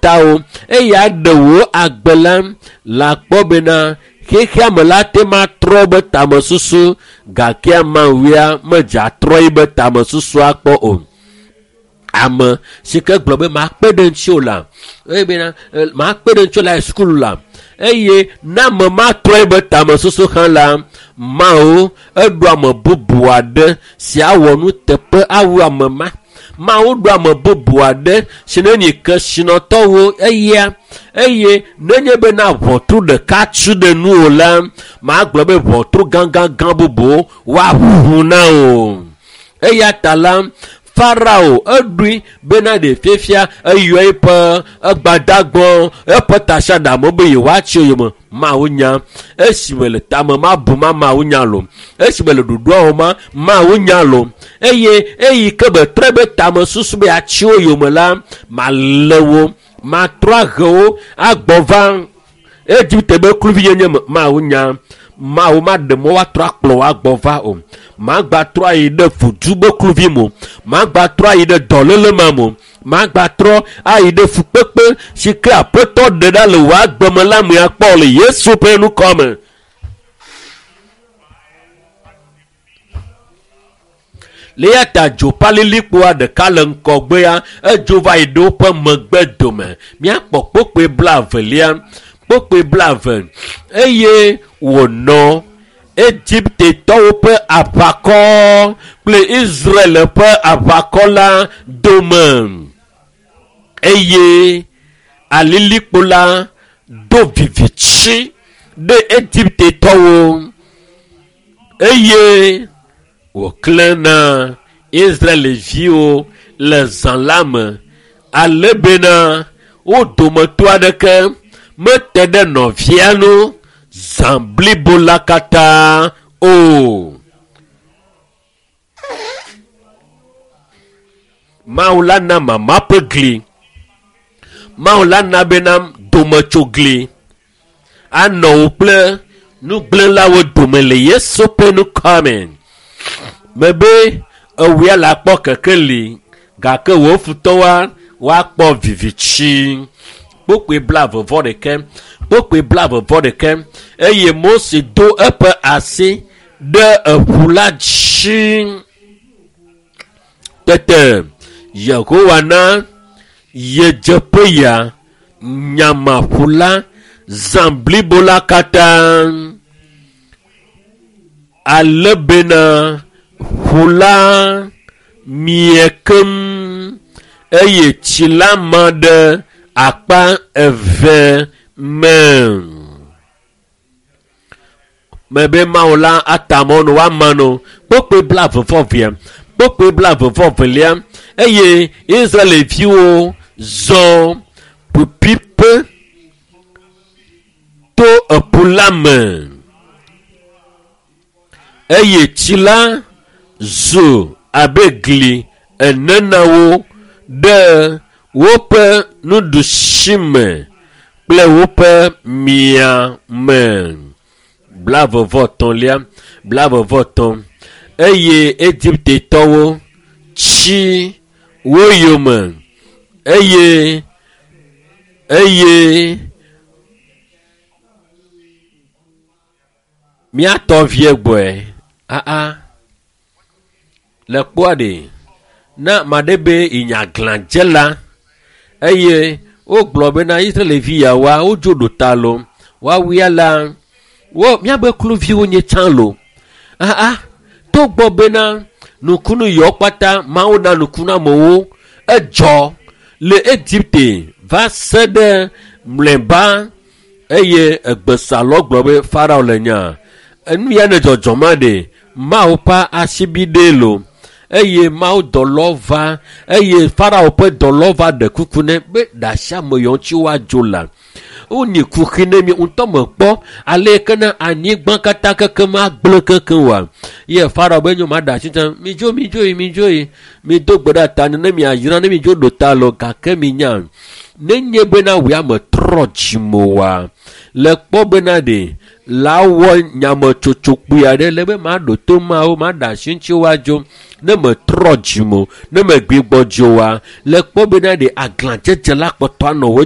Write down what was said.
Ta o eya ɖe wò agbe la le akpɔ bena xexea me la te ma trɔ be tamesusu gake amawia medze atrɔ yi be tamesusu akpɔ o. Ame si ke gblɔ be makpe ɖe ŋuti o la eye bena makpe ɖe ŋuti o la sukulu la eye ne ame matrɔ yi be tamesusu hã la Mawu eɖo ame bubu aɖe si awɔ nuteƒe awu ame ma. Mawu ɖo ame bubu aɖe si ne nyi kesinɔtɔwo eya eye nenye bena ʋɔtru ɖeka tu ɖe nu o la magblɔ be ʋɔtru gãgãgã bubuwo woaʋu na o. Eya ta la Farao eɖoe bena ɖe fiafia eyɔ eƒe egbadagbɔ eƒe tasiaɖamwo be yewoatsi yome. Mawu nya esime le tame ma bu ma Mawu nya lo esime le ɖoɖoa wɔm ma Mawu nya lo eye eyi ke be trɔ be tame susu be atsi wo yome la malé wo matrɔ ahe wo agbɔ va Egipte be kluvinyenye me. Mawu nya Mawu maɖe mɔ woatrɔ akplɔ wo agbɔ va o. Magbatrɔ ayi ɖe fudu be kluvi me o. Magbatrɔ ayi ɖe dɔléle ma me o. Magbatrɔ ayi ɖe fukpekpe si ke aƒetɔ ɖe ɖa le wò agbe me la me akpɔ le Yesu ƒe ŋkɔ me. Le eya ta dzopalilikpoa ɖeka le ŋgɔgbea edzo va yi ɖe woƒe megbe dome. Míakpɔ kpokpoe blaevelia, kpokpoe blaeve eye wònɔ Egiptetɔwo ƒe aʋakɔ kple Israel ƒe aʋakɔ la dome eye alilikpo la do vivitsi ɖe Egiptetɔwo eye wòklẽ na Israelviwo le zã la me ale bena wo dometɔ aɖeke mete ɖe nɔvia ŋu zã blibo la katã o. Mawu la na mama ƒe gli. Mawu la na bena dometsogli anɔ wo kple nugblẽlawo dome le Yesu ƒe ŋkɔ me. Mebe ewòe le akpɔ kekeli gake wò futɔwoa woakpɔ vivitsi. Kpokpoe blaeve vɔ ɖeke, kpokpoe blaeve vɔ ɖeke eye Mose do eƒe asi ɖe eƒu la dzi. Tete Yehowa na yedzeƒeya nyama ƒu la zã blibo la katã ale bena ƒu la mie keŋ eye tsi la ma ɖe akpa eve me. Mebe Mawu la ata mɔ no woama no kpokpoe blaeve vɔ vea kpokpoe blaeve vɔ velia eye Israelviwo zɔ ƒuƒuiƒe to eƒu la me eye tsi la zu abe gli ene na wo ɖe woƒe nuɖusi me kple woƒe mia me. Blaeve vɔ etɔ̃lia, blaeve vɔ etɔ̃ eye Egiptetɔwo tsi wo yome eye eye míatɔ vie gbɔe aa le kpɔa ɖe ne ame aɖe be inyaglãdzela eye wogblɔ bena Israelvi yawoa wodzo ɖo ta lo woawuia la wo míabe kluviwo nye tsã lo aa togbɔ bena nukunu yawo kpata Mawu na nukunu amewo edzɔ le Egipte va se ɖe mlɔeba eye egbesalɔ gblɔ be Farao le nya enu ya ne dzɔdzɔm ma ɖe Mawu ƒe asibi ɖee lo eye Mawu dɔlɔ va eye Farao ƒe dɔlɔ va ɖe kuku nɛ be ɖe asi ame yawo ŋuti woadzo la wonyi kuxi ne mi ŋutɔ mekpɔ ale ke ne anyigba katã kekem agblẽ kekem oa ye Farao be nyo maɖe asi tsã midzo midzo yi midzo yi mido gbe ɖe ta ne miayra ne midzo ɖo ta lɔ gake minya nenye bena wòe ame trɔ dzime oa le kpɔ bena ɖe la wɔ nyametsotso kpui aɖe le be maɖo to Mawu maɖe asi ŋuti woadzo ne metrɔ dzime o ne megbugbɔ dzo oa le kpɔ bena ɖe aglãdzedze la kpɔtɔ anɔ wo.